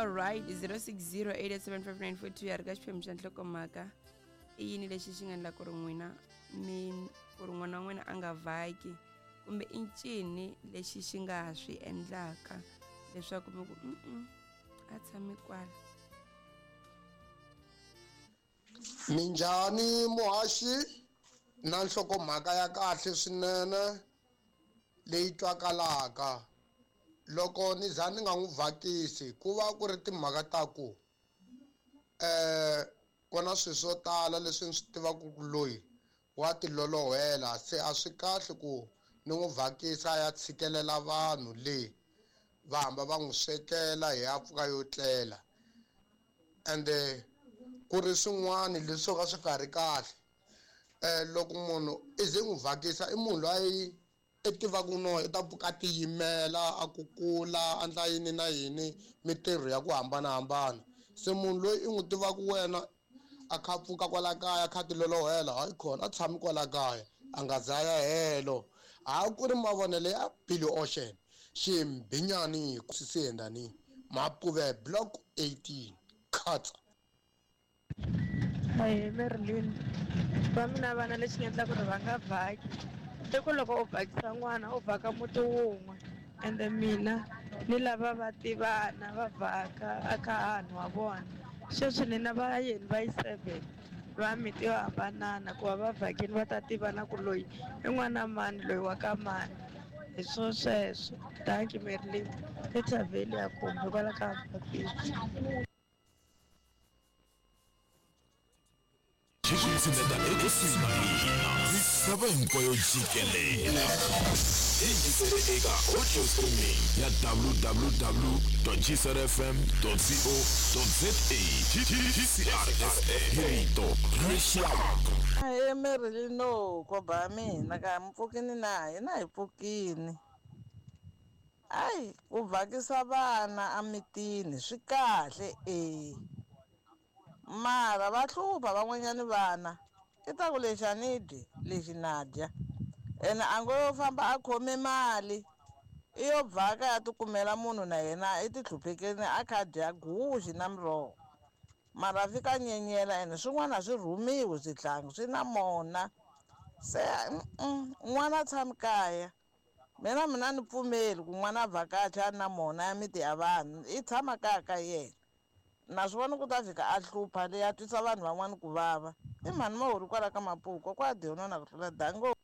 Alright, 0608875942 ya ri ka xiphemu xa nhlokomhaka. I yini lexi xi nga endla ku ri n'wina mi ku ri n'wana wa n'wina a nga vhaki kumbe i ncini lexi xi nga ha swi endlaka leswaku mi ku mm a tshami kwala. Minjhani muhaxi na nhlokomhaka ya kahle swinene leyi twakalaka. Loko ni za ni nga n'wi vhakisi ku va ku ri timhaka ta ku ku na swilo swo tala leswi ni swi tivaka ku loyi wa tilolohela, se a swi kahle ku ni n'wi vhakisa a ya tshikelela vanhu le va hamba va n'wi swekela hi ya pfuka yo tlela. Ende ku ri swin'wana leswi swo ka swi nga ri kahle, loko munhu i ze n'wi vhakisa i munhu loyi i tivaka no i ta pfuka a tiyimela, a kukula, a endla yini na yini mintirho ya ku hambanahambana. Se munhu loyi i n'wi tivaka wena a kha a pfuka kwala kaya a kha a tilolohela, hayi khona a tshami kwala kaya a nga za ya helo. Ha ku ri mavonelo ya Billy Ocean Ximbinyani Sisendani Mapuve Block 18 Khatsa. Ahee Marilyn, va mina vana lexi nga endla ku ri va nga vhaki i ku loko u vhakisa n'wana u vhaka muti wun'we ende mina ni lava va tivana va vhaka a ka hanhu wa vona. Sweswi ni na vayeni va yi 7 va miti yo hambanana ku va va vhakini va ta tivana ku loyi i n'wana mani loyi wa ka mani. Hi swo sweswo. Dankie Marilyn. Ethavheli ya kumbe kwala ka Mapitsi. Xi ku tshineta ekusuhi na hina misava hinkwayo jikelele. Hi yingisele eka audio streaming ya www.gcrfm.co.za. GCR FM hi rito ra rixaka. Ahee Marilyn, no koba ya mina ka mi pfukini na hina hi pfukini. Ayi ku vhakisa vana emitini swi kahle e, mara va hlupha van'wanyani vana i ta ku lexi a ni dyi lexi na dya, ene a ngo yo famba a khome mali i yo vhaka ya tikumela munhu na yena i tihluphekeni a kha dya guxe na miroho, mara fika nyenyela ene swin'wana a swi rhumiwi swihlangi swi na mona. Se n'wana a tshami kaya. Mina mina ni pfumeli ku n'wana a vhakacha a ri na mona ya miti ya vanhu, i tshama kaya ka yena. Na swi vona ku ta fika a hlupha leyi a twisa vanhu van'wana ku vava. I mhani Mahori kwala ka Mapuku, kokwa a dyi yona na ku tlula dango.